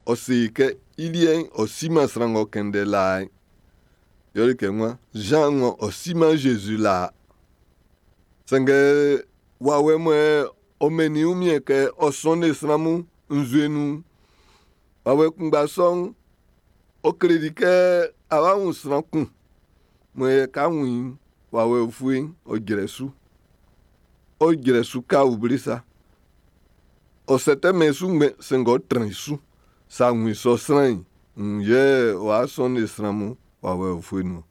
Ɔ se i kɛ i liɛ'n ɔ siman sran ng'ɔ kɛn ndɛ laa'n. Yɛle kɛ nwan Zan ng'ɔ ɔ siman Zezi laa. Sanngɛ wawɛ mɔ ɔ mɛnnin i wunmiɛn kɛ ɔ sɔnnin sran mun nzue nun'n, wawɛ kunngba sɔ'n, ɔ kleli kɛ a wá wun sran kun mɔ yɛ ka wun i'n, wawɛ ufue'n ɔ jrɛ su. Ɔ jrɛ su ka auble sa. Ɔ sɛtɛmɛn su ngbɛn sɛnngɛ ɔ trɛn i su. Sa wun i sɔ sran'n, wun yɛ w'a sɔnnin sran mun wawɛ ufue nun.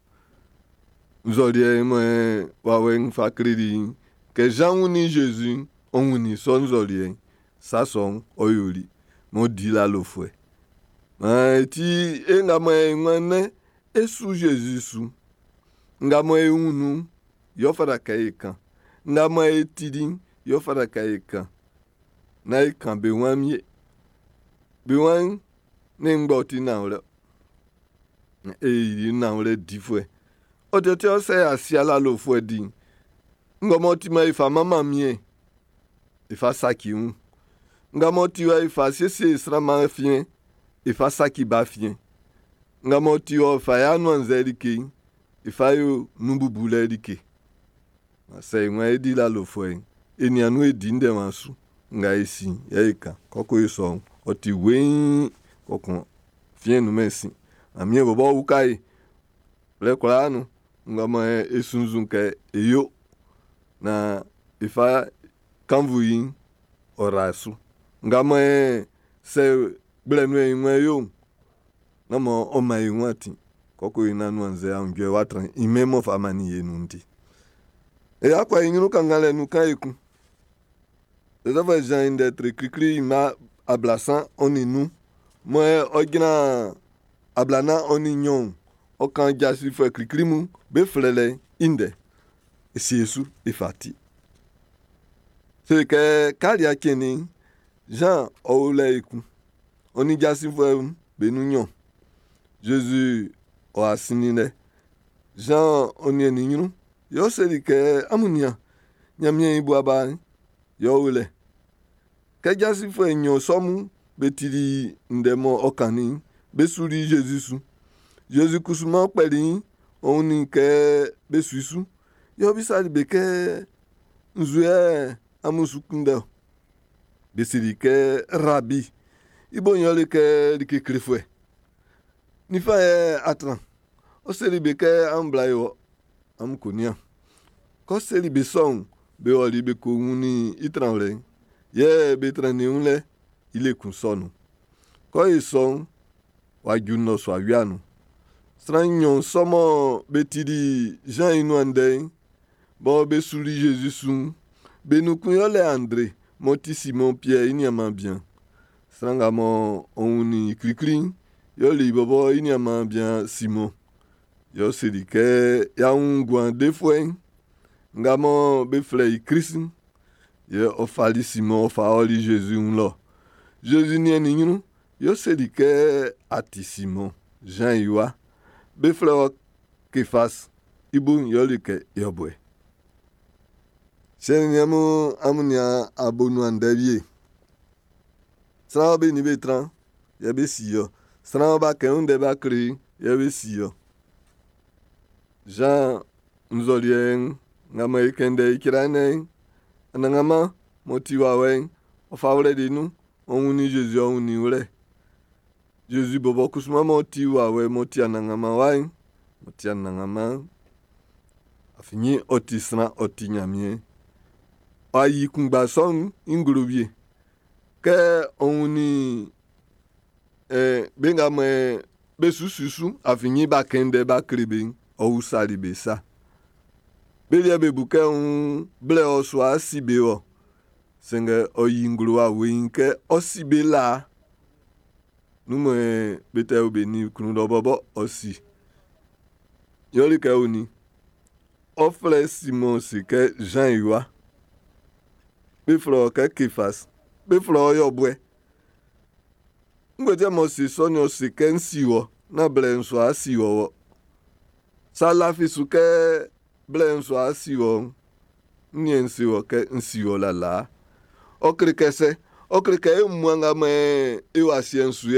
Nzɔliɛ mɔ wawɛ'n fa kleli i'n, kɛ Zan wunnin Zezi'n, ɔ wunnin sɔ nzɔliɛ'n. Sa sɔ'n, ɔ yoli m'ɔ di lalofuɛ. Maan e ti e nga mɔ e nwan nɛ́n e su Zezi su. Nga mɔ e wun nun'n, yɛ ɔ fata kɛ e kan. Nga mɔ e tili'n, yɛ ɔ fata kɛ e kan. Nán e kan be wan wie. Be wan'n, ne ngbɔ ti nanwlɛ. E yi nanwlɛ difuɛ. Ɔ tɛtɛ ɔ sɛ asia lalofuɛ di'n. Nga m'ɔ ti ma e fa manman mie, e fa saci wun. Nga m'ɔ ti wa e fa siesie sran ma fiɛn, e fa saci ba fiɛn. Nga m'ɔ ti wa fa ya nuanzɛ like'n, e fa yo nun bubulɛ like. Sɛ e wan e di lalofuɛ'n, e nian nun e di ndɛwa su. Nga e si yɛ e kan. Kɔkɔ e sɔ'n, ɔ ti weiin kɔkɔn fiɛn nun mɛn sin. Ɲanmiɛn bɔbɔ uka e. Blɛ kwlaa nun, nga mɔ e sunnzun kɛ e yo na e fa kannvu yi'n, ɔ ra su. Nga mɔ e sɛ gblɛ nun e wan yo'n, na mɔ ɔ man e wun atin. Kɔkɔ e nanuanzɛ aunjuɛ wa tran i mɛn m'ɔ fa mannin e nun'n ti. E akɔ e ɲrun kannganlɛ nun kan ekun. Zozɛfu Zan i ndɛ tre klikli ma 35 mɔ ɔ jran 42 ɔ kan jasifuɛ klikli mun be flɛlɛ'n i ndɛ. E sie su e fa ti. Se kɛ kalia cɛnnin'n, Zan ɔ o lɛ ekun. Ɔ nin jasifuɛ'm be nun nɲɔn. Zezi ɔ a sinnin lɛ. Zan ɔ niɛnnin i ɲrun. Yɛ ɔ seli kɛ, amun nian, Ɲanmiɛn i bua ba'n, yɛ ɔ o lɛ. Kɛ jasifuɛ nɲɔn sɔ mun be tili ndɛ mɔ ɔ kannin'n, be suli Zezi su. Zezi kusu m'ɔ kpɛli i'n, ɔ wunnin kɛ be su i su. Yɛ ɔ bisali be kɛ, nzu yɛ amun su kunndɛ ɔ? Be seli kɛ, Rabi. I bo'n yɛle kɛ like klefuɛ. Ninfan yɛ a tran. Ɔ seli be kɛ amun bla e wɔ, amun ko nian. Kɛ ɔ seli be sɔ'n, be ɔli be ko wunnin i tranwlɛ'n. Yɛ be trannin wun lɛ i le kun sɔ nun. Kɛ ɔ ye sɔ'n, w'a ju nnɔsua wia nun. Sran nɲɔn sɔ mɔ be tili Zan i nuan ndɛ'n, bɔ be suli Zezi su'n, be nun kun yɛle Andre m'ɔ ti Simɔn Piɛr i niaanman bian. Sran nga mɔ ɔ wunnin i klikli'n, yɛle i bɔbɔ i niaanman bian Simɔn. Yɛ ɔ seli kɛ y'a wun nguan defuɛ'n nga mɔ be flɛ i Klist'n. Yɛ ɔ fali Simɔn ɔ fa ɔli Zezi wun lɔ. Zezi niɛnnin i ɲrun, yɛ ɔ seli kɛ a ti Simɔn, Zan i wa. Be flɛ wɔ Kefas, i bo'n yɛle kɛ yɔbuɛ. Siɛ nin niɛn mun, amun nian abonuan ndɛ wie. Sran be nin be tran, yɛ be si ɔ. Sran b'a kɛn ndɛ b'a kle yɛ be si ɔ. Zan nzɔliɛ nga mɔ e kɛn ndɛ i cra nɛ'n, Anannganman m'ɔ ti wawɛ'n, ɔ fa wlɛli nun, ɔ wunnin Zezi ɔ wunnin i wlɛ. Zezi bɔbɔ kusuman m'ɔ ti wawɛ m'ɔ ti Anannganman wa'n, m'ɔ ti Anannganman, afin ɔ ti sran, ɔ ti Ɲanmiɛn. Ɔ yi kunngba sɔ'n i nglo wie. Kɛ ɔ wunnin be nga mɔ be su su su afin b'a kɛn ndɛ b'a kle be'n, ɔ usali be sa. Be liɛ be bu kɛ wun blɛ ɔ su a si be wɔ. Sanngɛ ɔ yi nglo wa weiin kɛ ɔ si be laa. Nun mɔ be tɛ o be nin klun lɔ bɔbɔ ɔ si. Yɛle kɛ o nin. Ɔ flɛ Simɔn se kɛ Zan i wa. Be flɛ ɔ kɛ Kefas. Be flɛ ɔ yɔbuɛ. Ngue ti mɔ se sɔ ni ɔ se kɛ n si wɔ, na blɛ n su a si wɔ wɔ. Sa lafi su kɛ blɛ n su a si wɔ, n yɛ n se wɔ kɛ n si wɔ lalaa. Ɔ kle kɛ sɛ, ɔ kle kɛ e mmua nga mɔ e o asiɛ'n su yɛ.